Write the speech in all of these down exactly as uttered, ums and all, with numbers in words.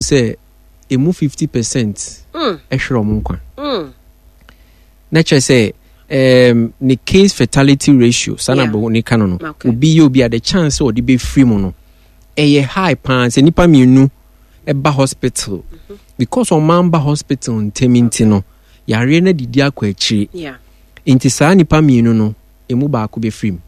Sɛ emu fifty percent Mm. ɛhwerɛ ɔmo nkwa. Mm. Na kyerɛ sɛ um, ne case fatality ratio saa na Yeah. bɔ ne ka no no Okay. obi yɛ obi a, the chance sɛ ɔde bɛfiri mu no ɛyɛ high paa. Sɛ nipa mmienu ɛba hospital, because ɔman ba hospital ntɛm nti no, yareɛ no adidi akɔ akyire. Yeah. Nti saa nipa mmienu no emu baako bɛfiri mu.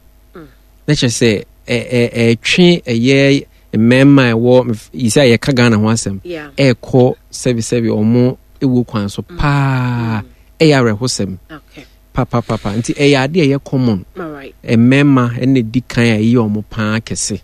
Na kyerɛ sɛ ɛ- ɛ- ɛtwe ɛyɛ mmarima a ɛwɔ yi sɛ yɛka Ghana ho asɛm, Yeah. ɛɛkɔ sɛbisɛbi ɔmo ɛwɔ kwan so paa. Ɛyɛ awerɛhosɛm Okay. papapapa. Nti ɛyɛ ade a ɛyɛ common. All right. Mmarima ɛna di kan a ɛyɛ ɔmo paa kɛse.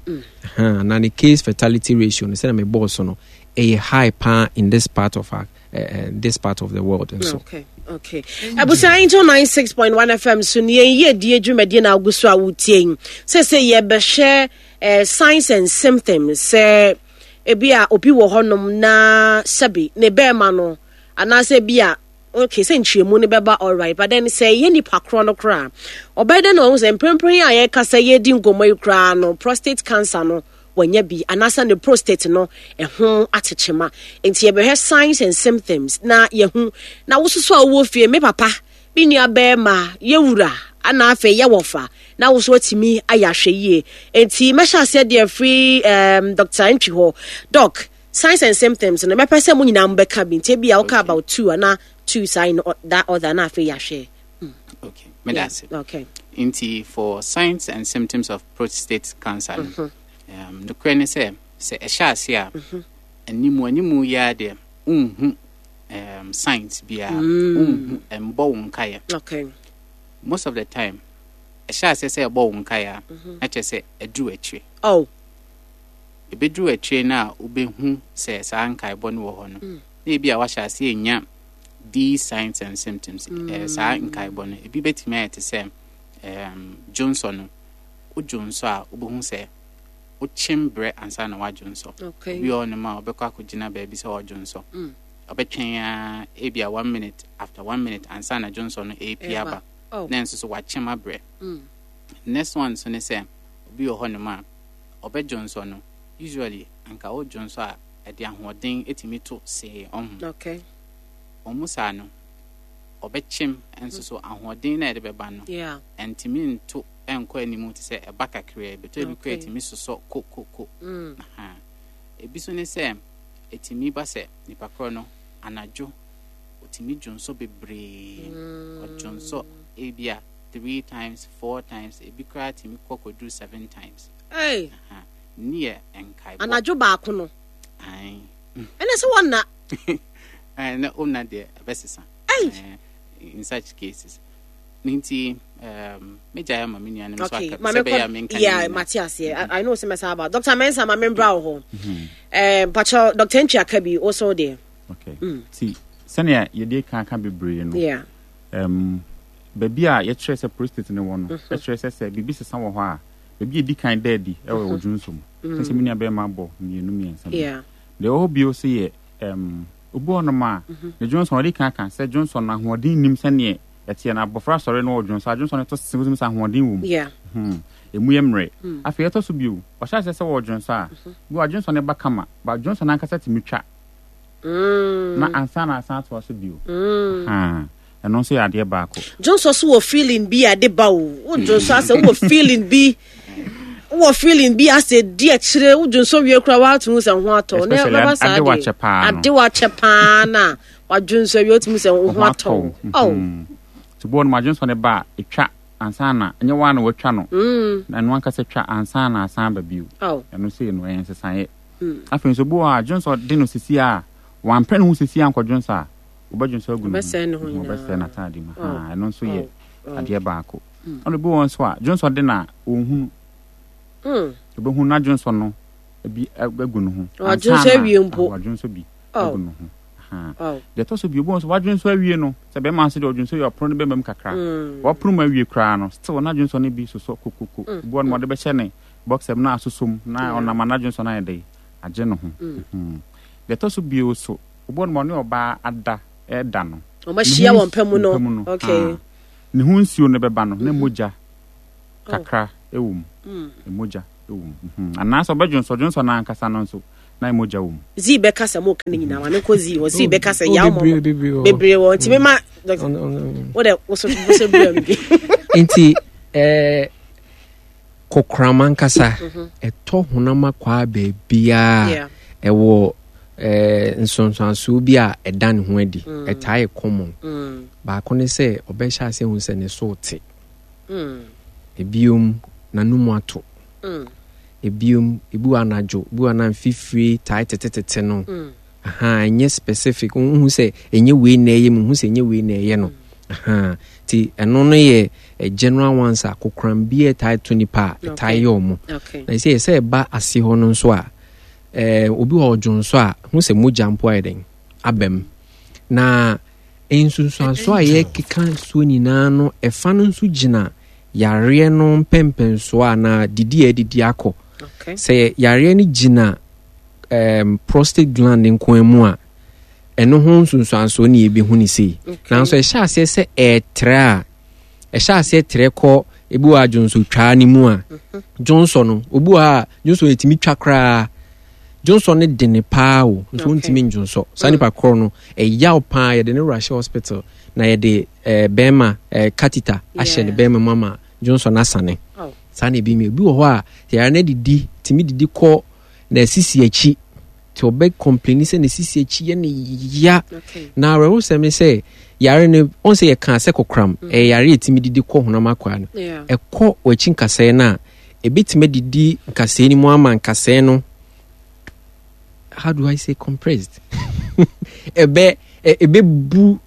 Aha, na ne case fatality ratio no, sɛdeɛ mebɔɔ so no, ɛyɛ high paa in this part of our, uh, uh, this part of the world nso. Okay. Okay. Abusua, Angel ninety-six point one F M so ne yɛn yie die dwumadie na agu so a wotie yi. Sɛ sɛ yɛbɛhwɛ eh, signs and symptoms, sɛ ebi a obi wɔ hɔnom na sɛbi ne bɛrima no anaasɛ ebi a, okay, sɛ nkyerɛmu no bɛba, alright, but then sɛ ɛyɛ nipa korɔ no koraa, ɔbɛyɛ dɛ na ɔho sɛ mprempren a yɛka sɛ yɛdi nkɔmmɔ yi koraa no, prostate cancer no wanya bi anaasɛ ne prostate no ɛho atekyema? Nti yɛbɛhwɛ signs and symptoms na yɛhu na wososo a wowɔ fie, me papa, me nua bɛrima, yɛwura ana afei yɛwɔfa na wo so atumi ayɛ ahwɛ yie. Nti mɛhyɛ aseɛ deɛ firi um, Doctor Ntwi hɔ. Doc, signs and symptoms no, mɛpɛ sɛ mo nyinaa mobɛka bi. Nti ebi a woka about two ana two saa in that order na afei yɛahwɛ. Okay, meda ase. Okay. Nti for signs and symptoms of prostate cancer no, um, nokorɛ ne sɛ sɛ ɛhyɛ ase a, animu animu yi ara deɛ, wonhu um, signs biara, wonhu, ɛmbɔ wo nkaeɛ. Okay most of the time, ɛhyɛ ase sɛ ɛbɔ wo nkaeɛ a, na kyerɛ sɛ ɛduru akyire. Oh ɛbɛduru akyire no a wobɛhu sɛ saa nkaebɔ no wɔ hɔ no, na ebi a wahyɛ ase anya these signs and symptoms. eh, saa nkaebɔ no ebi bɛtumi ayɛ te sɛ um, dwonsɔ no, wodwonsɔ a, wobɛhu sɛ wokyem berɛ ansa na woadwonsɔ. Okay obi wɔ hɔnom a ɔbɛkɔ akɔgyina baabi sɛ ɔdwonsɔ, ɔbɛtwɛn a ebi a one minute after one minute ansa na dwonsɔ no ɛrepi ɛba. Aba. Oh na nso so wakyem abrɛ. Mm. Next one nso ne sɛ obi wɔ hɔnom a ɔbɛdwonsɔ no, usually anka wodwonsɔ a, ɛde ahoɔden ɛtumi to see ɔho. Okay wɔn mu saa no, ɔbɛkyem nso so ahoɔden na ɛde bɛba no yeah ɛntumi nto ɛnkɔ anim te sɛ ɛba kakraa bi. Tɔ ebi kora Okay. ɛtumi sosɔ kokoko. mm. Aha. Ebi so ne sɛ ɛtumi ba sɛ nipa korɔ no anadwo ɔtumi dwonsɔ bebree. Ɔdwonsɔ ebi a three times, four times, ebi koraa tumi kɔ kɔduru seven times. Hey. Aha. Ne yɛ nkaebɔ. Anadwo baako no? Ae. Ɛnɛ sɛ wɔnna. Ɛɛ, na ɔmna deɛ ɛbɛsesa. Ei. Ɛɛ, in such cases ne nti um, megyae ama me nuanom so Okay aka maame sɛ ɛbɛyɛ a kɔ menka ne yeah nyinaa. Mate aseɛ. I, I know sɛ mɛsa aba Doctor Mensa ma membra wo hɔ. Eh, mpakyɛ Doctor Ntwi aka bi wo so deɛ. Okay, nti sɛnea yɛde ka ka bebree no, yeah um, baabi a yɛkyerɛ sɛ prostate no wɔ no, ɛkyerɛ sɛ sɛ biribi sesa wɔ hɔ a, baabi a ɛdi kan da adi ɛwɔ wɔ dwonso mu, sɛ sɛ me nua bɛrima bɔ mmienu mmiɛnsa bi. Yeah deɛ ɛwɔ hɔ bio so yɛ um, obi wɔ nom a ne dwonso ɔde kan ka sɛ dwonso no ahoɔden nim sɛneɛ ɛteɛ no. Abɔfra sɔre no wɔ dwonso a, dwonso no to se wosim sɛ ahoɔden wɔ mu. yeah Hmm. Emu yɛ mmerɛ. Afei ɛtɔ so bio, ɔhyɛ aseɛ sɛ wɔ dwonso a, bi wɔ dwonso no ba kama ba, dwonso no ankasa tumi twa mm. na ansa na asan atoa so bio. Mm. Ha, ɛno nso yɛ adeɛ baako. Dwonsɔ so wɔ feeling bi a de ba o. Wo dwonsɔ asɛ wowɔ feeling bi, wowɔ feeling bi asɛ di akyire. Wo dwonsɔ wie koraa, woatumi sɛ ho atɔ na Especially ɛbɛba saa ade deɛ. wakyɛ paa no. Ade wakyɛ paa na wadwonsɔ wie, wotumi sɛ wo ho atɔ wo. Oh. Mhm. Nti boɔ no ma dwonsɔ no ba a, ɛtwa ansa na ɛnyɛ waa na watwa no, Mm. na ɛno ankasa twa ansa na asan ba bio. Oh. Ɛno sei no ɛyɛ nsesaeɛ. Mm. Afei nso bi wɔ hɔ a dwonsɔ de no sisi a wampɛ ne ho sisi a nkɔdwonsɔ a, wobɛdwonsɔ agu ne ho. Ɔbɛsɛe ne ho Mhm, nyinaa. ɔbɛsɛe n'ataade mu. Oh. Ha, ɛno nso yɛ Oh. Oh. adeɛ baako. Ɛna bi wɔ hɔ nso a dwonsɔ de na ɔnhunu. Mm. Obɛhu na dwonsɔ no bi agu ne ho. Wadwonsɔ Ansa na- awie mpo. Ah, wadwonsɔ bi Oh. agu ne ho. Ha. Oh. Deɛ ɛtɔ so bio, obi wɔ hɔ nso wadwonsɔ awie no, sɛ bɛrima nso deɛ ɔdwonsɔ wie a, ɔpono no bɛma mu kakra. Mm. Wapono mu awie koraa no, still na dwonsɔ no bi sosɔ kokoko. Obi wɔ hɔ no, ɔde bɛhyɛ ne boxer mu na asosɔ mu na ɔnam a na dwonsɔ no ayɛ dɛ agye ne ho. Mhm. Deɛ ɛtɔ so bio so, obi wɔ hɔ no, ɔne ɔbaa ada ɛda no, ɔmahyia ne ho wɔ mpa mu no. mpa mu no, okay ah, ne ho nsuo no bɛba no na mogya kakra ɛwɔ mu. Mm. Mogya ɛwɔ mu. Mhm. Anaasɛ ɔbɛdwonsɔ dwonsɔ no ankasa no nso Na mogya wɔ mu. Zii bɛka sɛ moka no nyinaa ma menkɔ zii hɔ. Zii bɛka sɛ Oh, yaw bebree, mɔ bebree wɔ hɔ. Bebree wɔ nti mema Ɔno- ɔno- wode woso woso brɛ me bi. Nti eh, kokoram ankasa ɛtɔ honam akwaa baabiaa. Yeah. Ɛwɔ eh, nsonsansoɔ bi a ɛda ne ho adi, ɛtaa yɛ common. Mm, Baako ne sɛ ɔbɛhyɛ ase hu sɛ ne so te. mm, Ebiom, n'anum ato. mm, Ebiom, ebi wɔ anadwo, ebi wɔ anan fifire tae tetetete no. mm. Aha, ɛnyɛ specific, wohu sɛ ɛnyɛ wei na ɛyɛ mu, hu sɛ ɛnyɛ wei na ɛyɛ no. Aha, nti ɛno no yɛ eh, general ones a kokoram bi a ɛtae to nipa a ɛtae Okay. yɛ ɔmo. Okay. Na sɛ sɛ ɛba ase hɔ no nso a, ɛɛ obi wɔ ɔdwo nso a hu sɛ mogya mpo ayɛ den aba mu, na nsunsuanso a yɛkeka soɔ nyinaa no, ɛfa no nso gyina yareɛ no mpɛmpɛnsoɔ anaa didi a ɛdidi akɔ. Okay. Sɛ yareɛ no gyina um, prostate gland nko mu a, ɛno ho nsunsuansoɔ ne yɛbɛhu ne sei. Okay. Nanso ɛhyɛ aseɛ sɛ ɛɛtrɛ a, ɛhyɛ aseɛ trɛ kɔ ebi wɔ adwonsotwaa no mu a, dwonsɔ no, obi wɔ ha a dwonsɔ yɛtumi twa koraa, dwonsɔ no de ne paa o, nso Okay. wontumi ndwonsɔ. Saa nipa korɔ no, ɛyaw paa, yɛde ne wura hyɛ hospital na yɛde ɛɛ bɛrima ɛɛ catheter ahyɛ ne Yeah. bɛrima mu ama dwonsɔ no asane. Oh. Saa na ebi mi, obi wɔ hɔ a yàrá no didi tumi didi kɔ na esisi akyi, tí ɔbɛ complain sɛ na esisi akyi yɛ ne ya. Okay. Na awerɛhosɛm ne sɛ yare no ɔn sɛ yɛka sɛ kokoram ɛyɛ yare a ɛtumi didi kɔ honam akwaa no. Yeah. Ɛkɔ w'akyi nkasɛɛ no a, ɛbɛtumi adidi nkasɛɛ no mu ama nkasɛɛ no, how do I say, compressed, ɛbɛ ɛ- ɛbɛbu,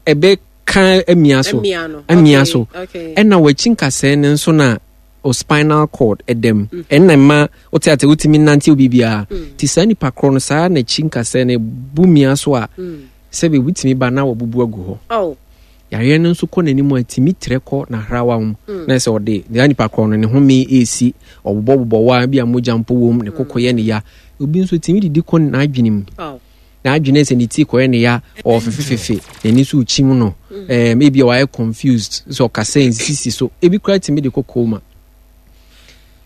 ɛbɛka amia so. Amia no. Amia Okay, so. Okay. Ɛna w'akyi nkasɛɛ no nso na o spinal cord ɛdam, ɛnna mma wote ate wotumi nante wo biribiara. Nti saa nipa korɔ no, saa n'akyi nkasɛɛ no bu mia so a, Mm. sɛbi wotumi ba na wɔbubu agu hɔ. Oh. Yareɛ no nso kɔ n'anim a, tumi trɛ kɔ n'ahrawa mu na sɛ ɔde saa nipa korɔ no ne home ɛresi, ɔbobɔbobɔ wa bi a mogya mpo wɔ mu, ne koko yɛ ne ya. Obi nso tumi didi kɔ n'adwene mu. Oh. N'adwene sɛ ne ti kɔyɛ ne ya, ɔwɔ fefefefe, n'ani so kyim no, ɛɛm ebi a wayɛ confused sɛ ɔkasa nsisi so, ebi koraa tumi de kɔ coma.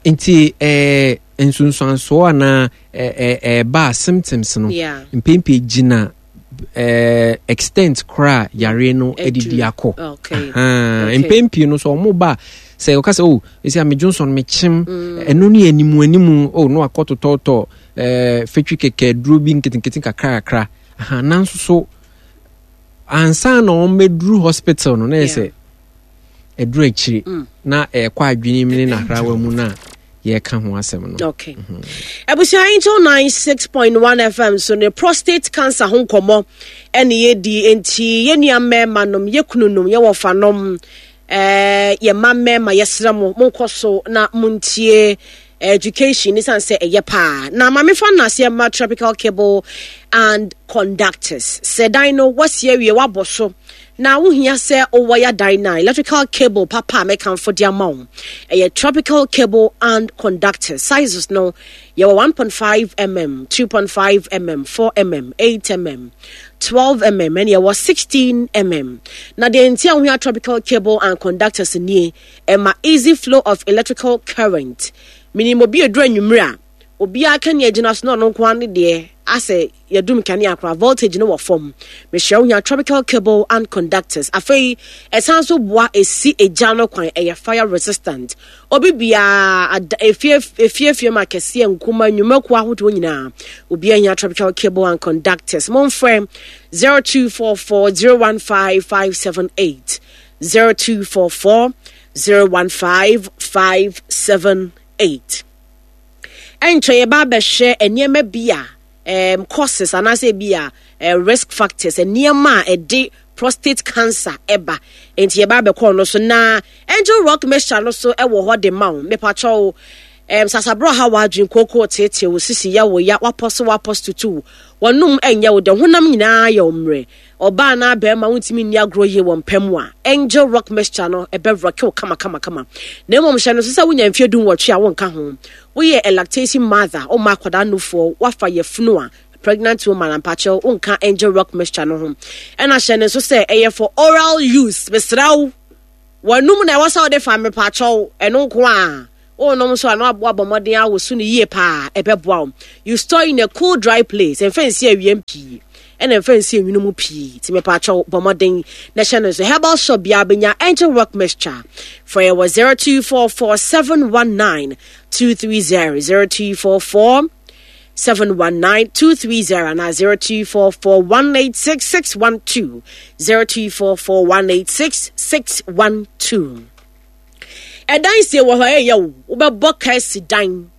Nti ɛɛ nsunsuansoɔ anaa ɛɛ ɛɛba a, symptoms no Yeah. mpempem gyina ɛɛ extent koraa yareɛ no adidi akɔ. Okay. Ahaa, Okay. mpɛn pii no so ɔmo ba a, sɛ ɔka sɛ o esi a medwonsɔ no mekyem, ɛno ne animu animu o no akɔ totɔtɔ ɛɛ fetwi kɛkɛ duro bi nketenkete kakra kakra. Aha, nanso so ansa na wɔn bɛduru hospital no na yɛ sɛ ɛduru akyire na ɛkɔ adwene mu ne n'ahrawa mu na yɛreka ho asɛm no. Okay. Abusua, Angel ninety-six point one F M so ne prostate cancer ho nkɔmmɔ ɛne yɛdi. Nti yɛn nua mmarima nom, yɛ kunu nom, yɛ wɔfa nom, ɛɛ yɛ mma mmarima, yɛsrɛ mo, monkɔ so na montie education ne san sɛ ɛyɛ paa. Na maame fa nnaseɛ ma Tropical Cable and Conductors sɛ dan no wasi awie, wabɔ so na wohia sɛ wowɔ ya dan no a, electrical cable papa a mɛkamfo de ama wo ɛyɛ Tropical Cable and Conductors. Sizes no, yɛwɔ one point five millimeters, two point five millimeters, four millimeters, eight millimeters, twelve millimeters, ɛne yɛwɔ sixteen millimeters. Na deɛ nti a wohia Tropical Cable and Conductors nie: ɛma easy flow of electrical current, meaning obi eduru anwummerɛ a, obiara kanea gyina so na ɔno nko ara ne deɛ asɛ yɛdum kanea koraa, voltage no wɔ fam. Mehyɛ wo hia Tropical Cable and Conductors. Afei ɛsan so boa esi egya no kwan, ɛyɛ fire resistant. Obi biara ada efie efiefie mu, akɛseɛ, nkuma, nnwumakuo ahodoɔ nyinaa, obiara hia Tropical Cable and Conductors. Momfrɛ zero two four four zero one five five seven eight, zero two four four zero one five five seven eight. Ɛnkyɛn yɛba abɛhwɛ nneɛma bi a um, causes anaasɛ bi a uh, risk factors, nneɛma a ɛde prostate cancer ɛba. Nti yɛba abɛkɔ no so na Angel Rock mixture no so ɛwɔ hɔ de ma wo. Mepakyɛw, um, sasaborɔ ha wadwen kooko tietie wo sisi yɛ wo ya, wapɔ so wapɔ so tutu wɔnom, ɛnyɛ wo dɛ, honam nyinaa yɛ wo mmerɛ, ɔbaa na bɛrima wontumi nni agorɔ yie wɔ mpɛ mu a, Angel Rock mixture no ɛbɛ rock wo kama kama kama. Na mmom hyɛ no so sɛ wonya mfeɛ du nwɔtwe a, wonka ho. Woyɛ a lactation mother, woma akwadaa nufoɔ, wafa yɛfunu a, pregnant woman, ampakyɛw, wonka Angel Rock mixture no ho. Ɛna hyɛ no nso sɛ ɛyɛ for oral use. Mesrɛ wo, wɔnum na ɛwɔ sɛ wode fa. Mepakyɛw, ɛno nko a Wonom nso a na wabɔ mmɔden awoso no yie paa, ɛbɛboa wo. You store in a cool dry place, ɛmfa nsi awiam pii ɛna ɛmfa nsi enwunu mu pii. Nti mepaakyɛw bɔ mmɔden na hyɛ no nso. Herbal shop biara bɛnya Angel Rock mixture. Frɛ yɛ wɔ zero two four four seven one nine two three zero zero two four four seven one nine two three zero anaa zero two four four one eight six six one two zero two four four one eight six six one two. Ɛdan sie wɔ hɔ ɛyɛ wo wobɛbɔ kɛse dan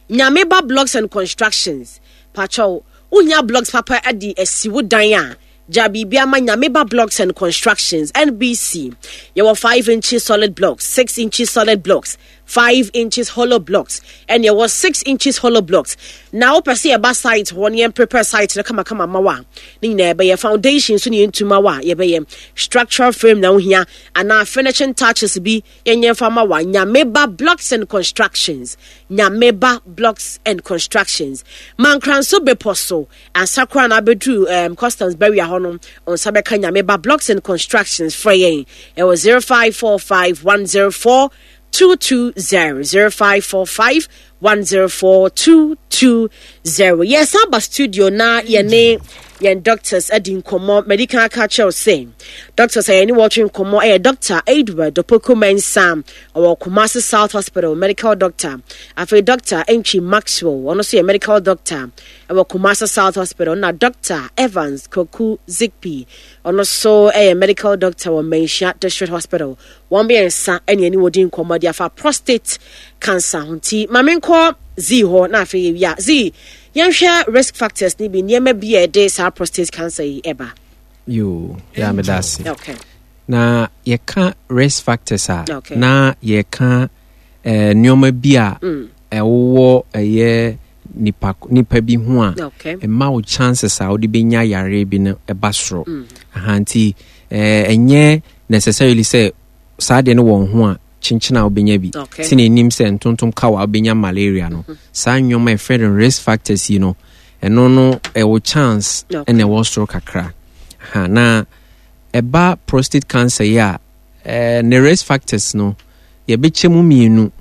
Nyame ba blocks and constructions pakyɛw wohia blocks papa de asi wo dan a gya biribi ama Nyame ba blocks and constructions N B C yɛwɔ five inches solid blocks six inches solid blocks five inches hollow blocks ɛne ɛwɔ six inches hollow blocks na wopɛ sɛ yɛba site hɔ ne yɛn prepare site no kamakama ma wo a ne nyinaa yɛbɛyɛ foundation so ne yɛntuma wo a yɛbɛyɛ structural frame na wohia anaa finishing touches bi yɛnyɛ mfa ma wa Nyameba blocks and constructions Nyameba blocks and constructions Mankranso bepɔ so ansa koraa na abɛduru um, customs barrier hɔ no nsa bɛka Nyameba blocks and constructions frɛ yɛn ɛwɔ zero five four five one zero four two two zero zero five four five one zero four two two zero yɛsan ba studio na yɛne yɛn doctors adi nkɔmmɔ medical aka kyerɛw sɛ doctors a yɛne wɔtwe nkɔmmɔ ɛyɛ Doctor Edward Opoku Mensah ɔwɔ Kumasi South Hospital medical doctor afei Doctor Entwi Maxwell ɔno nso yɛ medical doctor ɛwɔ Kumasi South Hospital na Doctor Evans Koku Zikpi ɔno nso ɛyɛ medical doctor wɔ Manhyia District Hospital. Wɔn mmiɛnsa ne ɛne wɔdi nkɔmmɔ de afa prostate cancer ho. Nti ma menkɔ Z hɔ na afei yɛwie a. Z, yɛnhwɛ risk factors ne bi, nneɛma bi a ɛde saa prostate cancer yi ɛba. Yoo, yɛ a meda ase. Okay. Na yɛka risk factors a, Okay. na yɛka eh, nneɛma bi a Mm. ɛwowɔ ɛyɛ nipa, nipa bi ho a Okay. ɛma wo chances a wode bɛnya yareɛ bi no ɛba soro. Mm. Aha, nti eh, ɛnyɛ necessarily sɛ saa deɛ no wɔ ho a kyenkyene a wobɛnya bi. Okay. Sɛ n'anim sɛ ntontom ka wo a wobɛnya malaria no. Mm-hmm. Saa nneɛma a yɛfrɛ no risk factors yi no, ɛno no ɛwɔ chance Okay. ɛna ɛwɔ soro kakra. Aha, na ɛba prostate cancer yi a, eh, ne risk factors no yɛbɛkyɛ mu mmienu.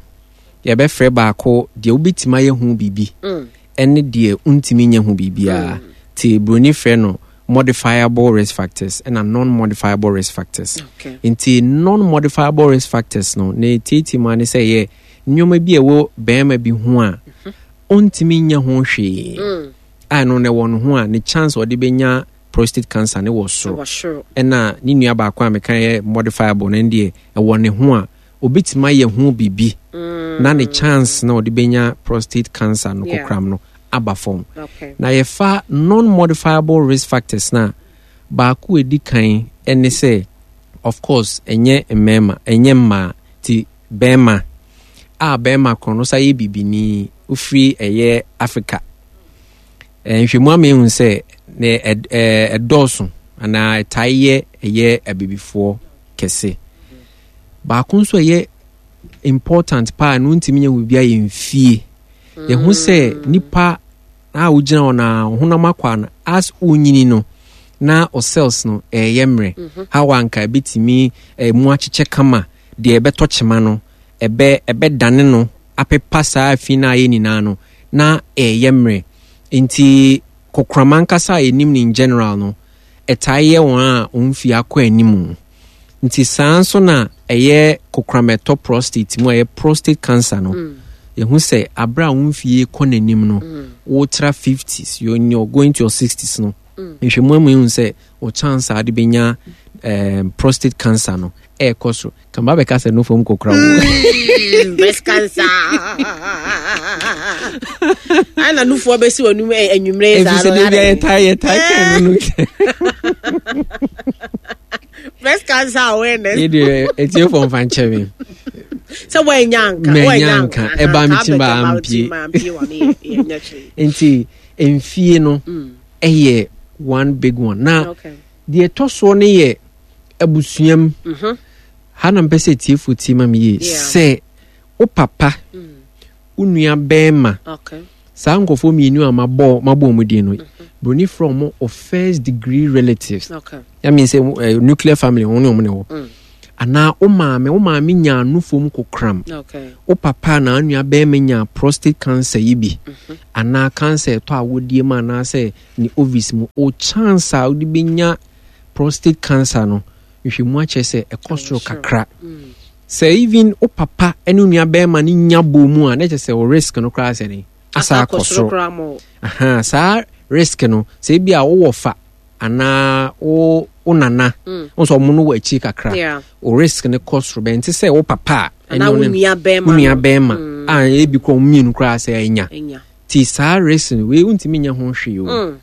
Yɛbɛfrɛ baako deɛ wobɛtumi ayɛ ho biribi Mm. ɛne deɛ wontumi nyɛ ho biribiara. Nti buroni frɛ no modifiable risk factors ɛna non-modifiable risk factors. Okay. Nti non-modifiable risk factors no ne tietie mu ane sɛ yɛ nneɛma bi a ɛwɔ bɛrima bi ho a ɔntumi nyɛ ho hwee. Mm. A ɛno no ɛwɔ ne ho a ne chance ɔde bɛnya prostate cancer ne wɔ soro. Ɛwɔ soro. Ɛna ne nua baako a meka yɛ modifiable no deɛ ɛwɔ ne ho a obetumi ayɛ ho biribi Mm. na ne chance na ɔde bɛnya prostate cancer no Yeah. kokram no aba fam. Okay. Na yɛfa non-modifiable risk factors na baako a edi kan ɛne sɛ of course ɛnyɛ mmarima ɛnyɛ mmaa ti bɛrima a bɛrima korɔ no sa yɛ bibini ofiri ɛyɛ Africa. Nhwɛmu ama ehu sɛ ne ɛdɔɔso anaa ɛtae yɛ ɛyɛ abibifoɔ kɛse. Baako nso ɛyɛ important paa no ntumi nyɛ biribi ayɛ mfie. Yɛho sɛ nipa a wogyina hɔ na honam akwa no as wonyini no na o cells no ɛyɛ mmerɛ. How anka ebetumi mu akyekyɛ kama deɛ ɛbɛtɔ kyema no ɛbɛ ɛbɛdane no apepa saa afi na ayɛ nyinaa no na ɛyɛ mmerɛ. Nti kokorama nkasa a yɛnim no in general no ɛtae yɛ wɔn a wɔn mfie akɔ anim. Nti saa nso na ɛyɛ kokorama ɛtɔ prostate mu a ɛyɛ prostate cancer no. Yɛhu sɛ abere a wɔn mfie kɔ n'anim no wotra fifties you're going to your sixties no nhwɛmu amu ehu sɛ o chance a de bɛnya um, prostate cancer no ɛɛkɔ so. Kamba bɛka sɛ no fam kokora wo. Breast cancer. Ana nufoɔ bɛsi wɔ num anwummerɛ saa no. Efisɛ de bi a yɛtae yɛtae kɛn no no. Breast cancer awareness. Yɛ deɛ etiefo mfa nkyɛn mi. Sɛ wɔanya nka wɔanya nka ɛba mi ti ba ampie. Nti mfie no ɛyɛ one big one. Na deɛ ɛtɔ soɔ no yɛ abusuam. Ha na mpɛ sɛ etiefo tie ma mi yie sɛ wo papa wo nua bɛrima saa nkɔfoɔ mmienu a mabɔ mabɔ wɔn din no broni frɛ wɔn o first degree relatives. Okay. That means sɛ uh, nuclear family wɔn ne wɔn ne wɔ. Anaa wo maame, wo maame nyaa nufom kokoram. Okay. Wo papa na nua bɛrima nya prostate cancer yi bi, anaa cancer ɛtɔ awodie mu anaasɛ ne ovaries mu, o chance a wode bɛnya prostate cancer no, nhwɛmu akyerɛ sɛ ɛkɔ soro kakra. Sɛ even wo papa ne wo nua bɛrima no nya bɔ mu a, na kyerɛ sɛ wo risk no koraa sɛ ne asa akɔ soro. Koraa mo. Aha, saa risk no, sɛ ebi a wowɔ fa anaa wo wo nana wo nso ɔmo no wɔ akyi kakra, Yeah. wo risk no kɔ soro bɛn te sɛ wo papa a Anaa ɛne wo wo ne- nua bɛrima wo nua no. bɛrima a ebi kɔ ɔmo mmienu koraa sɛ ɛnya. Enya. Nti saa risk no wei, wontumi nya ho hwee o. Mm.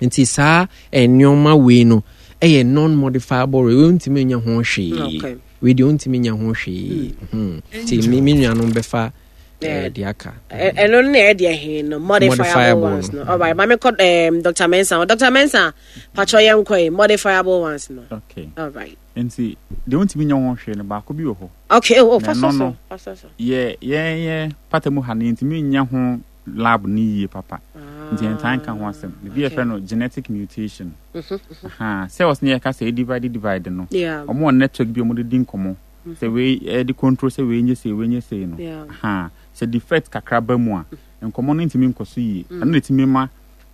Nti saa nneɛma wei no ɛyɛ non modifiable wei, wontumi nya ho hwee. Okay. Wei deɛ, wontumi nya ho hwee. Mhm. Nti me me nuanom bɛfa Yeah. eh, deɛ aka. Ɛ- ɛno no na ɛyɛ deɛ he no, modifiable Modifiable ones no. no. Alright, maame kɔ um, Doctor Mensa. Doctor Mensa, patro, yɛn kɔ yi modifiable ones no. Okay. Alright. Nti deɛ wontumi nyɛ ho hwee no, baako bi wɔ hɔ. Okay, oh, oh Na fa so ɛno so no, fa so so. yɛ yɛn yɛ pata mu ha no, yɛntumi nyɛ ho lab no yie papa, nti yɛntaa nka ho asɛm. Biribi Okay. yɛfrɛ no genetic mutation. Aha, cells ne yɛka sɛ divide divide no, Yeah. ɔmo wɔ network bi a ɔmo de di nkɔmmɔ sɛ wei ɛde control sɛ wei nye sei, wei nye sei no. Yeah. Aha, sɛ defect kakra ba mu a, nkɔmmɔ no ntumi nkɔ so yie. Ɛno na ɛtumi ma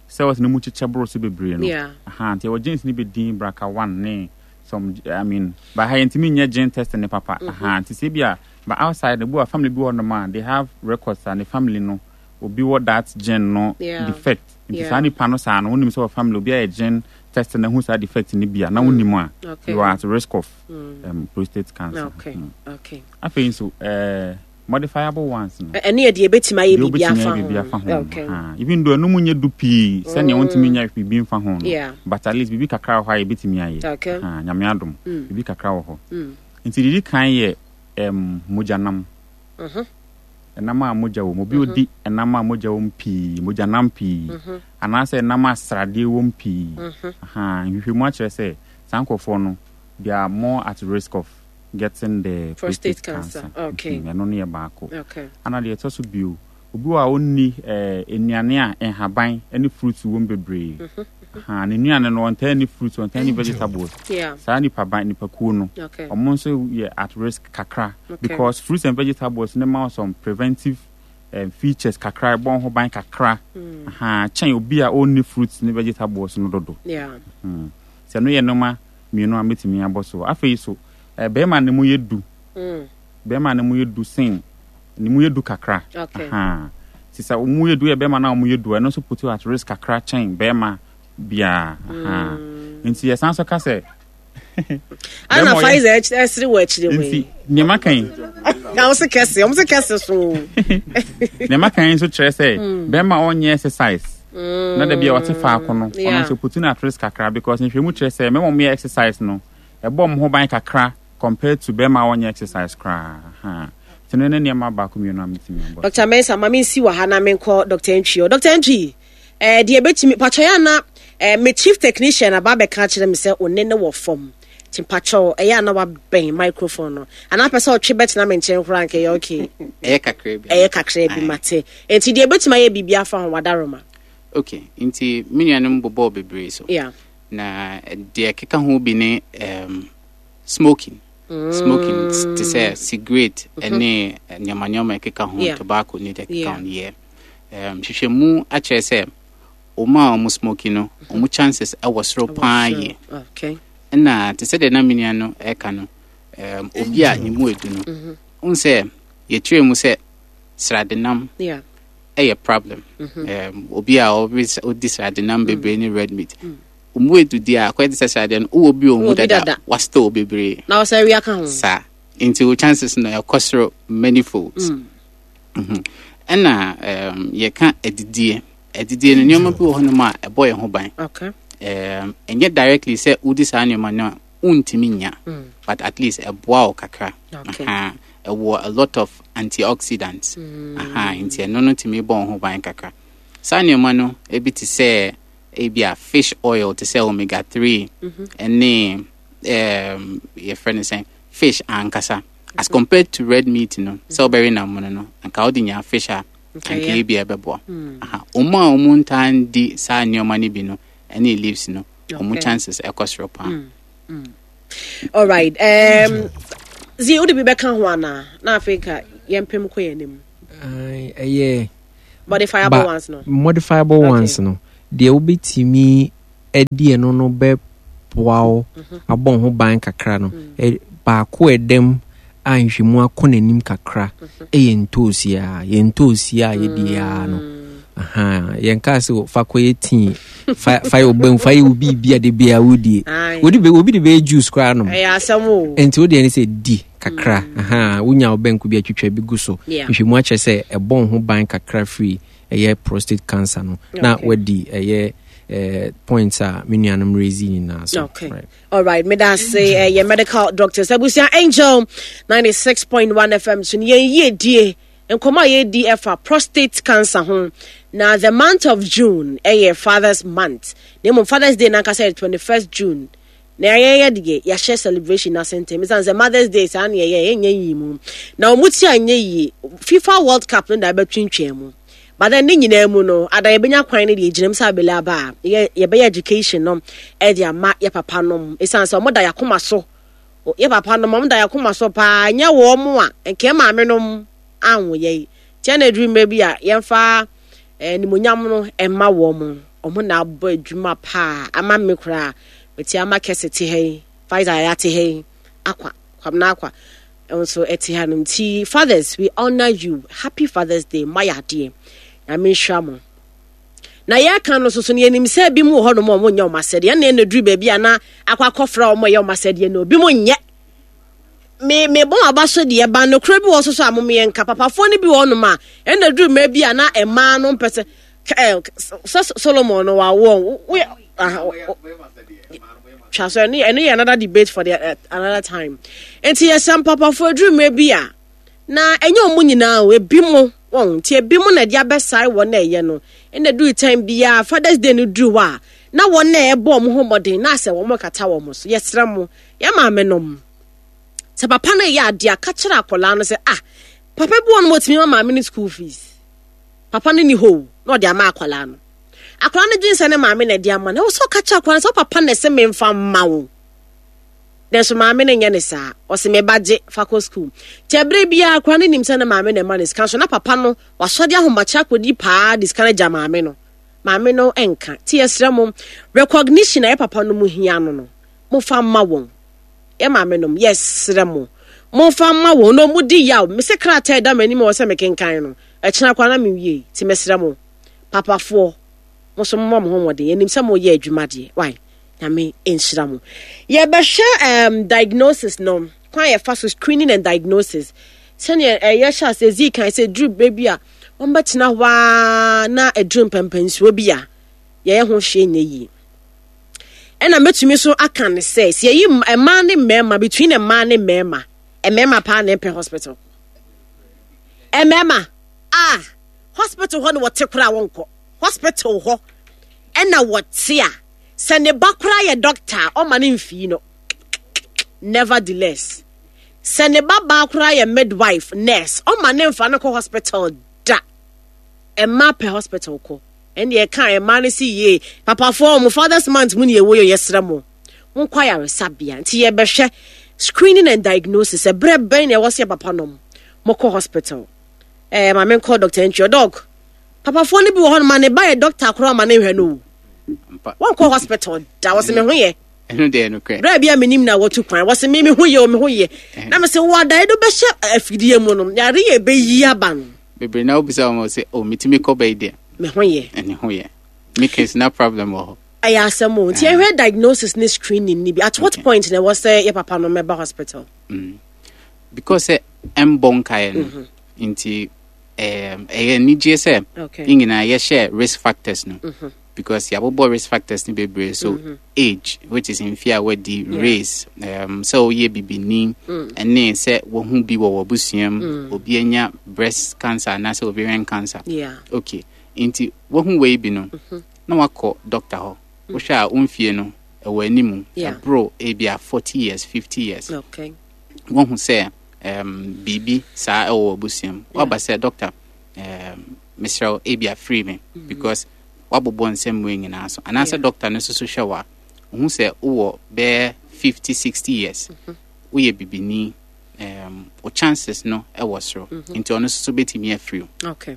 cells no mu kyekyɛ boro so bebree no. Yeah. Aha, nti ɛwɔ genes no bi din BRCA one ne some, I mean, but ha yɛntumi nyɛ gene test ne papa. Aha, nti sɛ bi a, but outside no, bi wɔ family bi wɔ nom a they have records a ne family no obi wɔ that gene no Yeah. defect. Nti Yeah. saa nipa no saa no, wonim sɛ wɔ family obi ayɛ gene test na hu saa defect no bi a, na wonim a, Okay. you are at risk of um, prostate cancer. Okay. Mm. Okay. Afei nso eh, modifiable ones no, Ɛ- ɛno yɛ deɛ ebɛtumi ayɛ deɛ biribi wobɛtumi afa ayɛ biribi afa ho. ho no. Okay. Ah, even though ɛno mu nyɛ du pii sɛnea wontumi nyɛ biribi mfa ho no, Yeah. but at least biribi kakra wɔ hɔ a yɛbɛtumi ayɛ. Okay. Ah, Nyame adom, biribi kakra wɔ hɔ. Nti didi kan yɛ um, mogyanam, Mhm. ɛnam a mogya wɔ mu. Obi odi ɛnam a mogya wɔ mu pii, mogyanam pii, anaasɛ ɛnam a sradeɛ wɔ mu pii. Aha, nhwehwɛmu akyerɛ sɛ saa nkurɔfoɔ no, they are more at risk of getting the prostate prostate cancer. cancer. Okay. Mhm, ɛno no yɛ baako. Okay. Ana deɛ ɛtɔ so bio, obi wɔ a ɔnni eh, nnuane a nhaban ne fruits wɔ mu bebree. Ha, ne nnuane no, ɔntaa ni fruits, ɔntaa ni vegetables. Yeah. Saa nipa ban nipakuo no, Okay. ɔmo nso yɛ at risk kakra Okay. because fruits and vegetables ne ma wo some preventive um, features kakra, ɛbɔ ho ban kakra. Ha, kyɛn obi a ɔnni fruits ne vegetables no dodo. Yeah. Hmm. Sɛ no yɛ nneɛma mmienu a mɛtumi abɔ so. Afei so eh, bɛrima ne mu yɛ du, Mm. bɛrima ne mu yɛ du sen ne mu yɛ du kakra. Okay. Aha. Nti sɛ mu yɛ du yɛ bɛrima na mu yɛ du, ɛno nso put you at risk kakra kyɛn bɛrima biara. Aha. Nti yɛsan so ka sɛ Ana bɛrima ɔyɛ- Pfizer ɛsere wɔ akyire wɔ nti yi. nneɛma kan Na wɔn se kɛse, wɔn se kɛse so. Nneɛma kan nso kyerɛ sɛ bɛrima a ɔnyɛ exercise na da bi a ɔte faako no, ɔno Yeah. nso put no at risk kakra, because nhwɛmu kyerɛ sɛ mɛma ɔmo yɛ exercise no, ɛbɔ ɔmo ho ban kakra compared to bɛrima a ɔnyɛ exercise koraa. Aha. Nti no ne nneɛma baako mmienu a metumi abɔ so. Doctor Mensa, ma mensi wɔ ha na menkɔ Doctor Ntwi o. Doctor Ntwi, eh, deɛ ɛbɛtumi patwɔ yɛ ana eh, me chief technician aba abɛka kyerɛ me sɛ one ne wɔ fam, nti mpakyɛw, ɛyɛ ana wabɛn microphone no anaa pɛ sɛ ɔtwe bɛtena me nkyɛn koraa nkɛyɛ okay. Ɛyɛ kakra bi. Ɛyɛ kakra bi. Aye. Mate. Nti deɛ ɛbɛtumi ayɛ biribi afa ho, wadaroma. Okay, nti me nuanom bobɔɔ bebree so. Yeah. Na deɛ ɛkeka ho bi ne um, smoking smoking te sɛ cigarette ɛne nneɛma nneɛma ɛkeka ho. Yeah. Tobacco ne deɛ ɛkeka Yeah. ho no yɛ um, hwehwɛmu akyerɛ sɛ ɔmo a ɔmo smoking no, ɔmo chances ɛwɔ soro paa yie. Okay. Ɛna te sɛ deɛ na me nua no ɛka no, um, obi a ne mu edu no, wohu sɛ yɛkyerɛ mu sɛ sradenam Yeah. ɛyɛ problem. um, obi a ɔbi ɔdi sradenam bebree ne red meat, ɔmu edu di a akɔyɛ te sɛ sradeɛ no wowɔ bi wɔ mu Wowɔ bi dada, dada. Wastore bebree. Na wɔsɛ wia ka ho. Saa nti wo chances no ɛkɔ soro many folds. Mhm. ɛna um, yɛka adidie adidie no, nneɛma bi wɔ hɔnom a ɛbɔ yɛn ho ban. Okay. um, ɛnyɛ directly sɛ wodi saa nneɛma no a wontumi nya, but at least ɛboa wo kakra. Okay. Aha. Ɛwɔ a lot of antioxidants. Aha, nti ɛno no tumi bɔ wo ho ban kakra. Saa nneɛma no ebi te sɛ ebi a fish oil, te sɛ omega three, ɛne um, yɛfrɛ no sɛn, fish ankasa, as compared to red meat no, sɛ wobɛwe nam no no anka wode nya fish a, Okay, anka yeah. ebi a ɛbɛboa. Aha, ɔmo a ɔmo ntaa ndi saa nneɛma no bi no ɛne leaves no, ɔmo Okay. chances ɛkɔ soro paa. All right. Um, Zi wode bi bɛka ho anaa na afei ka yɛmpem kɔ yɛn anim? Ɛyɛ modifiable ones no. Modifiable Okay. ones no deɛ, wobɛtumi adi ɛno no bɛboa wo Mhm. abɔ wo ho ban kakra no, Mm. ɛ- baako a ɛdɛm a nhwɛmu akɔ n'anim kakra Mhm. ɛyɛ ntoosi a yɛ ntoosi a yɛdi a no. Mm. Aha, yɛnka sɛ fa kɔyɛ tea, fa fa yɛ ɔbɛn, fa yɛ obi bi a de bia wodie. Aye. Obi de obi de bɛyɛ juice koraa nom. Ɛyɛ asɛm o. Nti wodeɛ ne sɛ di kakra. Aha, wonya wo bɛnko bi atwitwa bi gu so. Yeah. Nhwɛmu akyerɛ sɛ ɛbɔ wo ho ban kakra firi ɛyɛ prostate cancer no na Okay. wadi ɛyɛ eh, points a me nuanom rezi nyinaa so. Okay. Right. All right, me da se uh, your medical doctors. Abusia, Angel ninety-six point one F M so yɛn yie die nkɔmɔ a yɛdi ɛfa prostate cancer ho. Na the month of June ɛyɛ Father's Month. Na mmom Father's Day nankasa yɛ twenty-first June. Na yɛyɛ deɛ yɛahyɛ celebration n'ase ntɛm. Ɛsiane sɛ Mother's Day saa ne yɛyɛ yɛnyɛ yie mu. Na wɔn ti anyɛ yie, FIFA World Cup no da bɛtwintwɛn mu. But then ne nyinaa mu no, ada yɛbɛnya kwan no deɛ gyina mu sɛ abɛlɛ aba a yɛ yɛbɛyɛ education no ɛde ama yɛ papa nom, ɛsiane sɛ ɔmo da yɛakoma so. O- yɛ papa nom, ɔmo da yɛakoma so paa. Nyɛ wɔn mo a nkɛɛ maame nom anwo yɛ yi kyɛn na eduru mmerɛ bi a yɛmfa ɛɛ nimonyam no ɛma wɔn mo. Ɔmo na abɔ adwuma paa ama me koraa mete ama kɛse te ha yi, Pfizer yɛ ate ha yi, akwa Kwamina akwa nso ɛte ha nom. Nti fathers, we honour you. Happy Father's Day. Mma yɛ adeɛ, Nyame nhyira mo. Na yɛka no soso no, yɛnim sɛ bi mu wɔ hɔnom a ɔmo nyɛ ɔmo asɛdeɛ, ɛna ɛna duru baabi a na akɔ akɔfra ɔmo yɛ ɔmo asɛdeɛ no, obi mu nyɛ. Me me bɔ aba so deɛ ba nokora bi wɔ so so a mo yɛ nka papafoɔ no bi wɔ hɔnom a ɛna duru mmerɛ bi a na mmaa no mpɛ sɛ ɛ sɛ Solomon no wawoɔ woyɛ aha twa so. ɛno ɛno yɛ another debate for the uh, another time. Nti yɛsɛ mpapafoɔ aduru mmerɛ bi a na ɛnyɛ ɔmo nyinaa o, ebi mo wɔn nti ebi mo na ɛde abɛsae wɔn na ɛyɛ no. Ɛna duru time biara Father's Day no duru hɔ a, na wɔn na ɛbɔ ɔmo ho mmɔden na asɛ wɔn kata wɔn so. Yɛsrɛ mo, yɛ maame nom, sɛ papa no yɛ adeɛ a, ka kyerɛ akwadaa no sɛ, ah, papa bi wɔ no, wɔtumi ma maame no school fees. Papa no ni hɔ o, na ɔde ama akwadaa no. Akwadaa no dwen sɛ ne maame na ɛde ama no. Ɛwɔ sɛ ɔka kyerɛ akwadaa no sɛ papa na ɛsɛ memfa mma wo. Nanso maame no nyɛ ne saa. Ɔsɛ me ba, gye fa kɔ school. Kyɛ berɛ biara akwadaa no nim sɛ ne maame na ɛma ne sika, so na papa no wasɔde ahomakye akɔdi paa de sika no gya maame no. Maame no nka. Nti yɛsrɛ mo, recognition a yɛ papa no mu hia no no momfa mma wɔn. Yɛ maame nom, yɛsrɛ mo, momfa mma wɔn na ɔmo di yaw. Mese krataa ɛda m'anim a wɔ sɛ mekenkan no ɛkyena koraa na mewie. Nti mesrɛ mo, papafoɔ, mo nso momma mo ho mmɔden. Yɛnim sɛ moyɛ adwuma deɛ wai, Nyame nhyira mo. Yɛbɛhwɛ um, diagnosis no, kwan a yɛfa so screening and diagnosis, sɛnea ɛyɛ hyɛ ase zi kan sɛ duru berɛ bi a wɔmbɛtena hɔ a na aduru mpɛmpɛnsuo bi a yɛyɛ ho hwee nyɛ yie. Ɛna mɛtumi so aka ne sɛ sɛ yɛyi mmaa ne mmarima, between mmaa ne mmarima, mmarima paa na ɛpɛ hospital. Mmarima a hospital hɔ na wɔte koraa, wɔnkɔ hospital hɔ ɛna wɔte a, sɛ ne ba koraa yɛ doctor a, ɔma ne mfii no. Nevertheless, sɛ ne ba baa koraa yɛ midwife, nurse, ɔma ne mfa no kɔ hospital da. Mmaa pɛ hospital kɔ. Ɛnna ɛka mmaa no si yie. Papafoɔ, mo Father's Month mu ne yɛwɔ yɛ, yɛsrɛ mo, monkɔ ayaresabea. Nti yɛbɛhwɛ screening and diagnosis. Ɛberɛ bɛn na ɛwɔ sɛ yɛ papa nom mokɔ hospital? Ɛɛ maame nkɔ Doctor Ntwi. Doc, papafoɔ no bi wɔ hɔ no ma ne ba yɛ doctor koraa, ma ne nhwɛ no o, wɔnkɔ hospital da. Wɔsɛ me ho yɛ. Ɛno deɛ nokorɛ. Berɛ bi a menim na wɔtu kwan, wɔsɛ me me ho yɛ o, me ho yɛ. Na mesɛ wɔ adaeɛ do bɛhyɛ afidie mu no, yare yɛ bɛyi aba no. Bebree na wobisa wɔn sɛ, "Oh, metumi kɔ bɛyi deɛ." Me ho yɛ. Ɛne ho yɛ me case na problem wɔ hɔ. Ɛyɛ asɛm o. Nti ɛhwɛ diagnosis ne screening ni bi, at what Okay. point na ɛwɔ sɛ yɛ papa no mɛba hospital? mm. because sɛ ɛmbɔ nkaeɛ no nti ɛm, ɛyɛ anigye sɛ okay yɛn nyinaa yɛhyɛ risk factors no, because yɛabobɔ risk factors no bebree so, age, which is mfe a wadi, Yeah. race, um, sɛ woyɛ bibini, ɛne sɛ wohu bi wɔ w'abusua mu, obi anya breast cancer anaasɛ ovarian cancer. Yeah okay, nti wohu wei bi no na wakɔ doctor hɔ. Wohwɛ a womfie no ɛwɔ animu, Yeah. ɛboro ebi a forty years, fifty years, okay wohu sɛ um, biribi saa ɛwɔ w'abusua mu, waba sɛ, "Doctor, um, mesrɛ wo, ebi afiri me," because wabobɔ nsɛm wei nyinaa so. Anaasɛ Yeah. doctor no nso so hwɛ wo a, wohu sɛ wowɔ bɛyɛ fifty, sixty years, woyɛ bibini. um, o chances no ɛwɔ soro, nti ɔno nso so bɛtumi afiri o. Okay.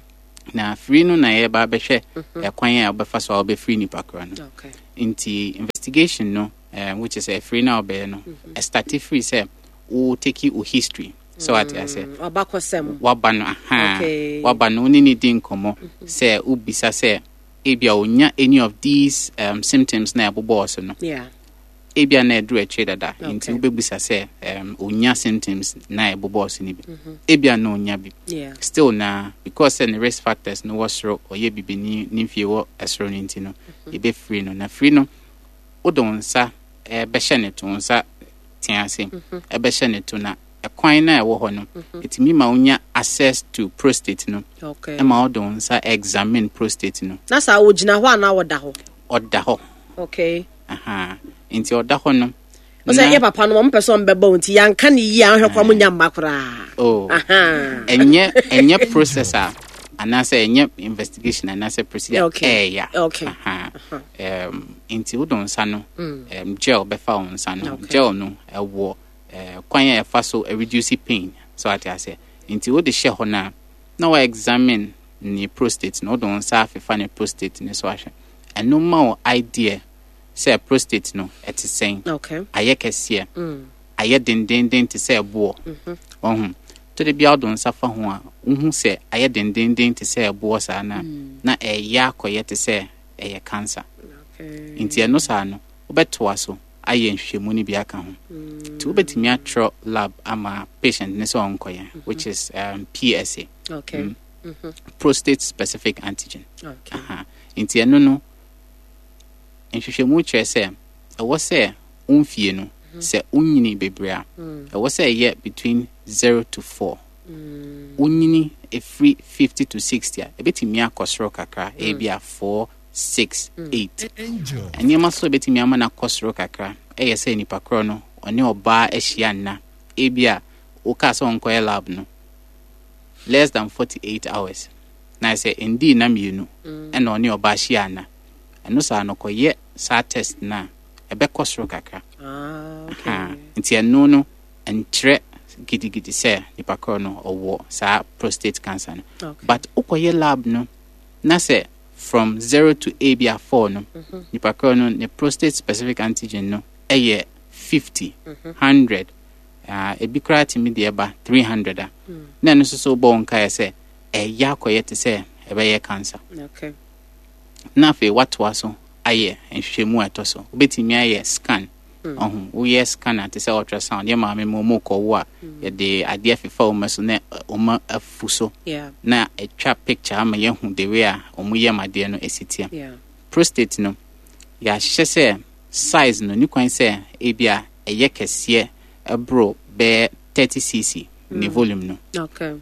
Na afiri no na yɛba bɛhwɛ ɛkwan a wobɛfa so a wobɛfiri nipa korɔ no. Okay. Nti investigation no, um, which is afiri no a wobɛyɛ no, ɛstart firi sɛ wo take wo history sɛ wate ase. Mm, Ɔbakɔsɛm. Waba no, aha. Okay. Waba no, wo ne ne di nkɔmmɔ sɛ wobisa sɛ ebia onya any of these um, symptoms na ɛbobɔɔ so no. Yeah. Ebia na ɛduru akyire dada, nti Okay. wobɛbusa sɛ um, onya symptoms na ɛbobɔɔ so no bi, ebia na onya bi. Yeah. Still na because sɛ ne risk factors no wɔ soro, ɔyɛ bibini, ne mfie wɔ ɛsoro no, nti no yɛbɛfiri no. Na firi no, wode wo nsa eh, bɛhyɛ ne to, wo nsa tea ase ɛbɛhyɛ ne to, na ɛkwan na ɛwɔ hɔ no, ɛtumi ma wonya access to prostate no. Okay. Ɛma wode wo nsa examine prostate no. Na saa wogyina hɔ anaa wɔda hɔ? Ɔda hɔ. Okay. Aha, nti ɔda hɔ no Ɔsɛ na- yɛ papa no, wɔn pɛ sɛ wɔn bɛbɔ wɔn ti, yanka ne yie a, ahwɛ kora mo nya mma koraa. Oh. Aha. ɛnyɛ ɛnyɛ process a anaasɛ ɛnyɛ investigation anaasɛ procedure. Okay. Ɛɛya. Okay. Aha. um, nti wode wo nsa no, um, gel bɛfa wo nsa no. Okay. Gel no ɛwɔ uh, kwan a ɛfa so reduce pain so ate aseɛ, nti wode hyɛ hɔ no a, na wa examine ne prostate no, wode wo nsa afefa ne prostate ne so ahwɛ. Ɛno ma wo idea sɛ prostate no ɛte sɛn. Okay. Ayɛ kɛseɛ, Mm. ayɛ dendenden te sɛ ɛboɔ. Ɔho tɔde bia wode wo nsa fa ho a, wohu sɛ ayɛ dendenden te sɛ ɛboɔ saa na na ɛyɛ akɔyɛ te sɛ ɛyɛ cancer. Okay. Nti ɛno saa no, wobɛtoa so ayɛ nhwehwɛmu no bi aka ho, nti wobɛtumi atwerɛ lab ama patient ne sɛ ɔnkɔyɛ, which is um, P S A. Okay. Prostate specific antigen. Okay. Aha. Nti ɛno no, nhwehwɛmu kyerɛ sɛ ɛwɔ sɛ womfie no, sɛ wonyini bebree a, ɛwɔ sɛ ɛyɛ between zero to four. Wonyini ɛfiri fifty to sixty a, ɛbɛtumi akɔ soro kakra, ebi a four, six, eight. Nneɛma so ɛbɛtumi ama no akɔ soro kakra ɛyɛ sɛ nipa korɔ no ɔne ɔbaa ahyia nna, ebi a wokaa sɛ ɔnkɔyɛ lab no less than forty-eight hours, na sɛ ndii na mmienu ɛna ɔne ɔbaa hyia nna, ɛno saa no kɔyɛ saa test no a, ɛbɛkɔ soro kakra. Ah, okay. Ha, nti ɛno no nkyerɛ gidigidi sɛ nipa korɔ no ɔwɔ saa prostate cancer no. Okay. But wokɔyɛ lab no na sɛ from zero to a bi a four no, nipa korɔ no ne prostate specific antigen no ɛyɛ fifty, hundred, uh, ebi koraa tumi deɛ ba three hundred a, na ɛno nso so wobɔ wo nkaeɛ sɛ ɛyɛ akɔyɛ te sɛ ɛbɛyɛ cancer. Okay. Na afei watoa so ayɛ nhwehwɛmu a ɛtɔ so, wobɛtumi ayɛ scan. Ɔho woyɛ scan a, te sɛ ultrasound, yɛ maame ma ɔmu kɔwo a, yɛde adeɛ fefa wɔn so na ɛ, ɔma afu so Yeah. na atwa picture ama yɛhu the way a ɔmo yɛ adeɛ no esi teɛ. Yeah. Prostate no, yɛahyehyɛ sɛ size no ne kwan sɛ ebi a ɛyɛ kɛseɛ ɛboro bɛyɛ thirty c c ne volume no. Okay.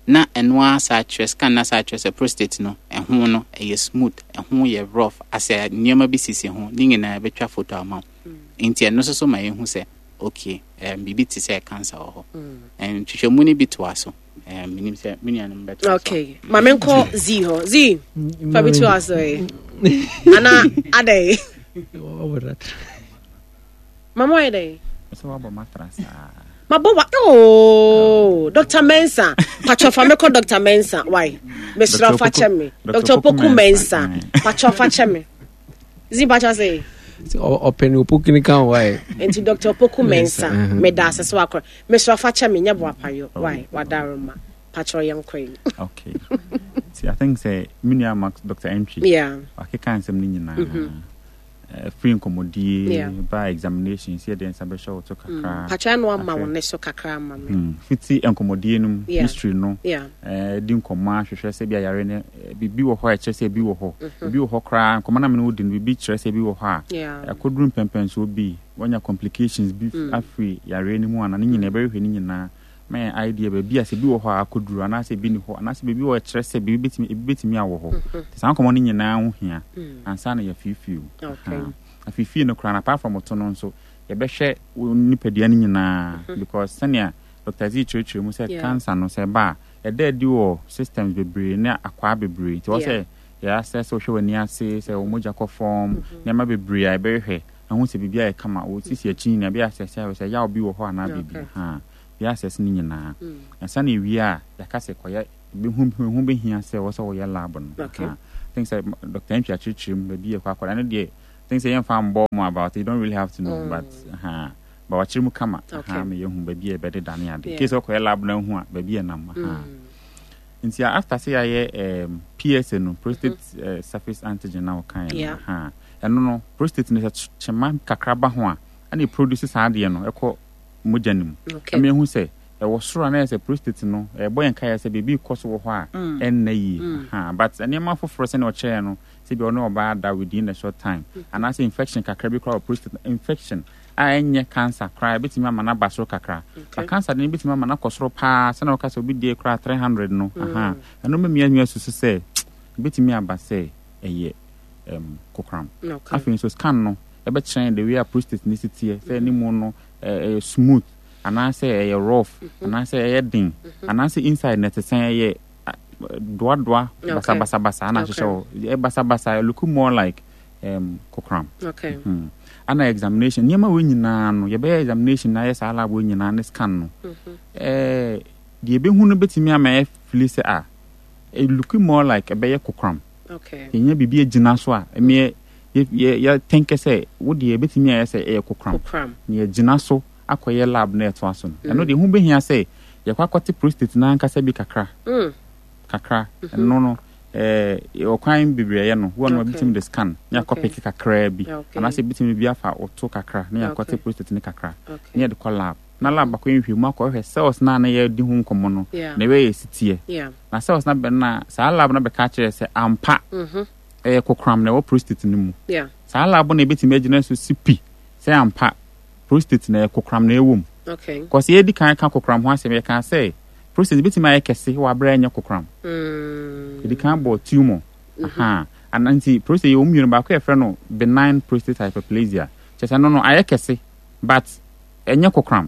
Na ɛno ara saa kyerɛ scan na saa kyerɛ sɛ prostate no ɛho no ɛyɛ smooth, ɛho yɛ rough, asɛ nneɛma bi sisi ho ne nyinaa ɛbɛtwa photo ama wo. Nti ɛno nso so ma yɛhu sɛ okay, um, biribi te sɛ cancer wɔ hɔ. um, nhwehwɛmu no bi toa so, um, menim sɛ me nuanom bɛtoa so. Okay. Maame nkɔ Z hɔ. Z. Fa bi to aso yi. Ana adai. Mama ɔyɛ dɛn? Sɛ wabɔ matra saa. Mabɔ wa, oh, Doctor Mensa. Patro, fa me kɔ Doctor Mensa. Why? Mesrɛ Doctor fa kyɛ me. Opoku- Doctor Opoku Mensa. Mensa. Patro, fa kyɛ me. Z, patro say. Ɔpɛ ne opoku ne ka ho wae. Nti Doctor Opoku Mensa, Mensa, mhm. meda ase so akɔ. Mesrɛ fa kyɛ me, nyɛ bo apayɔ. Why? Wadaroma. Patro, yɛnkɔ yi. Okay, nti I think sɛ me nua Max, Doctor Entry, Yeah. wakeka nsɛm no nyinaa. Eh, free nkɔmmɔdie Yeah. ba examination sɛ yɛde nsa bɛhyɛ wo to kakra. Patro no ama Ahwɛ. wo ne so kakra ama me. Mm, fiti nkɔmmɔdie no mu, Yeah. history no, Yeah. eh, di nkɔmmɔ ahwehwɛ sɛ bi ayare no, eh, biribi wɔ hɔ a ɛkyerɛ sɛ ebi wɔ hɔ, ebi wɔ hɔ koraa, nkɔmmɔ no a me ne wo di no, biribi kyerɛ sɛ ebi wɔ hɔ a Yeah. ɛkɔduru mpɛmpɛnsoɔ bi, wanya complications bi afiri yareɛ no mu ana, ne nyinaa ɛbɛhwehwɛ ne nyinaa ma yɛn idea baabi a sɛ bi wɔ hɔ a akɔduru, anaasɛ ebi ni hɔ, anaasɛ baabi wɔ ɛkyerɛ sɛ biribi bɛtumi, ebi bɛtumi awɔ hɔ. Nti saa nkɔmmɔ no nyinaa ho hia ansa na yɛafiifii o. Okay. Aha. Afiifii no koraa no, apart from ɔto no nso, yɛbɛhwɛ wo nipadua no nyinaa, because sɛnea Doctor Z kyerɛkyerɛ mu sɛ Yeah. cancer no, sɛ ɛba a, ɛda adi wɔ systems bebree ne akwaa bebree, nti wɔ Yeah. sɛ yɛasɛ sɛ wohwɛ w'ani ase, sɛ wo mogya kɔ fam, nneɛma bebree a yɛbɛhwehwɛ ahu sɛ biribi ayɛ kama, wo sisi akyi nyinaa ɛbɛyɛ asɛ sɛ sɛ yaw bi wɔ hɔ anaa biribi. Okay. Ha, Yɛ assess ne nyinaa. Ansa na ewie a, yɛaka sɛ kɔyɛ hu hu bɛhia sɛ wɔ sɛ wɔyɛ lab no. Okay. Aha. I think sɛ Doctor Antwi akyerɛkyerɛ mu baabi yɛ kɔ akɔda no deɛ, I think sɛ yɛmfa mbɔ mu about it, you don't really have to know, Mm. but aha, but wakyerɛ mu kama. Okay. Aha, ma yɛhu baabi a yɛbɛdeda ne ade. Yeah. Case ɔkɔyɛ lab no ahu a, baabi yɛ nam. Aha. Mm. Nti after sɛ yɛayɛ um, P S A no, prostate uh, surface antigen na wɔka yɛ no, Yeah. aha, ɛno no, prostate no, sɛ kyema kakra ba ho a, ɛna produce saa adeɛ no ɛkɔ mogya no mu. Okay. Ɛma ehu sɛ ɛwɔ soro a, na yɛ sɛ prostate no ɛbɔ yɛn kaeɛ sɛ biribi kɔ so wɔ hɔ a Mm. ɛnna yie. Aha, but nneɛma foforɔ sɛnea ɔkyerɛɛ no, sɛ bi ɔne ɔbaa da within a short time anaasɛ infection kakra bi koraa wɔ prostate, infection a ɛnyɛ cancer koraa, ebɛtumi ama no aba soro kakra. Okay. But cancer de no ebɛtumi ama no akɔ soro paa, sɛnea wɔka sɛ obi die koraa three hundred no. Aha, ɛno mɛmia nua susu sɛ ebɛtumi aba sɛ ɛyɛ um, kokoram. Okay. Afei nso scan no ɛbɛkyerɛ the way a prostate ne si teɛ, sɛ ne mu no ɛ- ɛyɛ smooth anaasɛ ɛyɛ rough anaasɛ ɛyɛ den anaasɛ inside na ɛte sɛn, ɛyɛ a, doadoa Okay. basabasabasa ana ahyehyɛ hɔ, ɛyɛ basabasa, look more like um, kokoram. Okay. Hmm. Ana examination, nneɛma wei nyinaa no, yɛbɛyɛ examination na ayɛ saa lab wei nyinaa ne scan no, ɛɛ deɛ yɛbɛhu no bɛtumi ama ɛ feel sɛ a it look more like ɛbɛyɛ kokoram. Okay. Yɛnya biribi agyina so a ɛmeɛ yɛ yɛ yɛtɛnkɛ sɛ wo deɛ ɛbɛtumi ayɛ sɛ ɛyɛ kokoram. Kokoram. Na yɛgyina so akɔyɛ lab na ɛtoa so no, ɛno deɛ ho bɛhia sɛ yɛkɔ akɔte prostate no ankasa bi kakra Mm. kakra. Ɛno no, ɛɛ ɔkwan bebree ɛyɛ no wɔn no, Okay. ebitumi de scan na yɛakɔ Okay. pick kakraa bi Okay. anaasɛ ebitumi bi afa ɔto kakra na yɛakɔte Okay. prostate no kakra Okay. na yɛde kɔ lab, na lab akɔ nhwɛ mu akɔhwɛ cells na na yɛdi ho nkɔmmɔ no Yeah. na ɛbɛyɛ si teɛ. Yeah. Na cells na bɛ na saa lab no bɛka kyerɛ sɛ ampa Mhm. ɛyɛ kokoram na ɛwɔ prostate no mu. Yeah. Saa lab no ebɛtumi agyina so si pi sɛ ampa prostate na ɛyɛ kokoram na ɛwɔ mu. Okay. Kɔsɛ yɛdi kan ka kokoram ho asɛm, yɛka sɛ prostate bɛtumi ayɛ kɛse wɔ aberɛ a ɛnyɛ kokoram. Mm. Yɛdi kan bɔ tumor. Aha, ana nti prostate yɛwɔ mu mmienu. Baako yɛfrɛ no benign prostate hyperplasia, kyerɛ sɛ no no ayɛ kɛse but ɛnyɛ kokoram.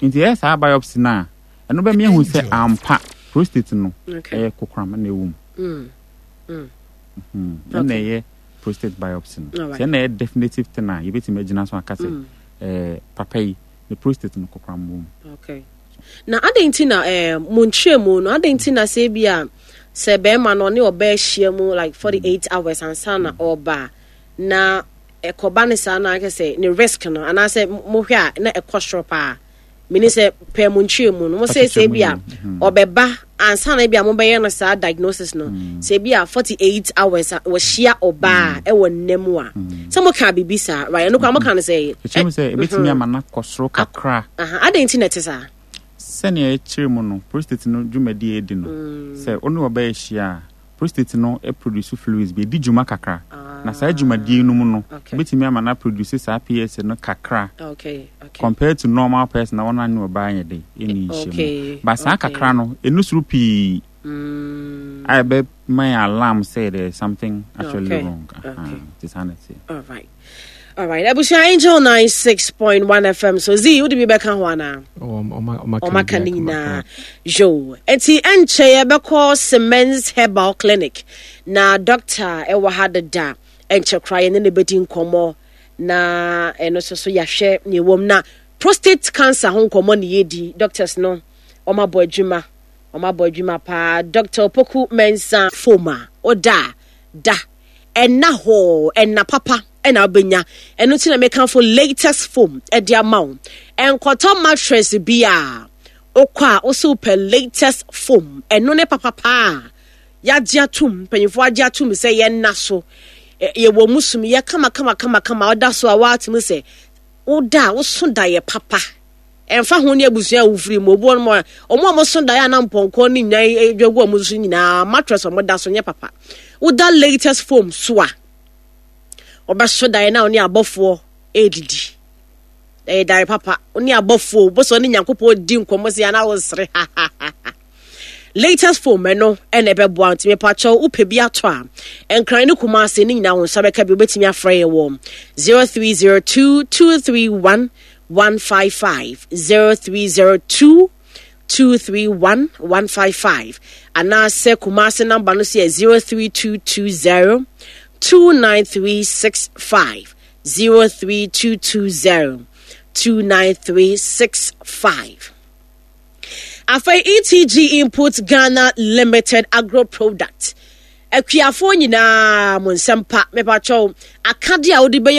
Nti ɛyɛ saa biopsy no a, ɛno bɛma yɛhu sɛ ampa prostate no Okay. ɛyɛ kokoram na ɛwɔ mu. Mm. Mm. Hmm, ɛna Okay. ɛyɛ prostate biopsy no. Alright. Sɛ ɛna ɛyɛ definitive thing a yɛbɛtumi agyina so aka sɛ Mm. ɛɛ papa yi ne prostate no kokoram wɔ mu. Okay. Na adɛn nti na eh, mo nkyerɛ mu no, adɛn nti na sɛ bi a sɛ bɛrima no ɔne ɔbaa ahyia mu like forty-eight hours ansa na ɔba a, na ɛkɔba ne saa na akɛ sɛ ne risk no anaasɛ mohwɛ a na ɛkɔ soro paa? Mene sɛ pɛ mo nkyerɛ mu no, mo sɛ sɛ bi a ɔbɛba ansa na bi a mobɛyɛ no saa diagnosis no, sɛ bi a forty-eight hours a wɔhyia ɔbaa ɛwɔ nna mu a, sɛ moka biribi saa, right? Ɛno koraa moka no sɛ ɛkyerɛ mu sɛ ɛbɛtumi ama no akɔ soro kakra. Aha, adɛn nti na ɛte saa? Sɛnea ɛkyerɛ mu no, prostate no dwumadi a ɛdi no, sɛ wo ne ɔbaa ahyia a, prostate no produce fluids bi, ɛdi dwuma kakra, na saa dwumadie no mu no Okay. ɛbɛtumi ama no produce saa P S A no kakra okay okay compared to normal person na wɔn ne ɔbaa yɛ de ɛni nhyɛ Okay, mu. But saa okay. kakra no, ɛnu soro pii Mm, a ɛbɛma yɛ alarm sɛ there is something actually Okay, wrong. Aha, okay. nti saa na ɛteɛ. All right. All right. Abusua, Angel ninety-six point one F M. So Z, wo de bi bɛka ho ana? Ɔmaka ne nyinaa. Yo. Enti ɛnkyɛ yɛbɛkɔ Cements Herbal Clinic. Na doctor ɛwɔ ha deda. Ɛnkyɛ koraa yɛne ne bɛdi nkɔmmɔ. Na ɛno nso so yɛahwɛ nea ɛwɔ mu. Na prostate cancer ho nkɔmmɔ ne yɛdi. Doctors no, ɔmabɔ adwuma. Ɔmabɔ adwuma paa. Doctor Opoku Mensah Foma. Ɔda da ɛna hɔ ɛna papa ɛna wobɛnya ɛno nti na mekamfo Latest Foam ɛde ama wo. Ɛnkɔtɔ mattress bi a wokɔ a wosɛ wopɛ Latest Foam, ɛno ne papapaa yɛagye atom, mpanyinfoɔ agye atom sɛ yɛnna so. Ɛ- yɛwɔ mu sum yɛ kama kama kama kama. Ɔda so a woatumi sɛ woda a woso da yɛ papa. Ɛmfa ho ne abusua a wofiri mu, obi wɔnom a ɔmo a moso daeɛ a na mpɔnkɔ ne nnwan adwa gu ɔmo so nyinaa, mattress a ɔmo da so nyɛ papa. Woda Latest Foam so a, ɔbɛso daeɛ na ɔne abɔfoɔ ɛredidi. Ɛyɛ daeɛ papa, ɔne abɔfoɔ bɔsɛ ɔne Nyankopɔn di nkɔmmɔ sɛ ana wosere. Latest Foam ɛno ɛna ɛbɛboa. Nti mepakyɛw, wopɛ bi atɔ a, Nkran ne Kumase ne nyinaa wo nsa bɛka bi. Wobɛtumi afrɛ yɛ wɔ zero three zero two two three one one five five, zero three zero two two three one one five five, anaasɛ Kumase number no so yɛ zero three two two zero two nine three six five, zero three two two zero two nine three six five. Afei E T G Input Ghana Limited agro product, akuafoɔ nyinaa mo nsɛm pa, mepakyɛw, akadeɛ a wode bɛyɛ.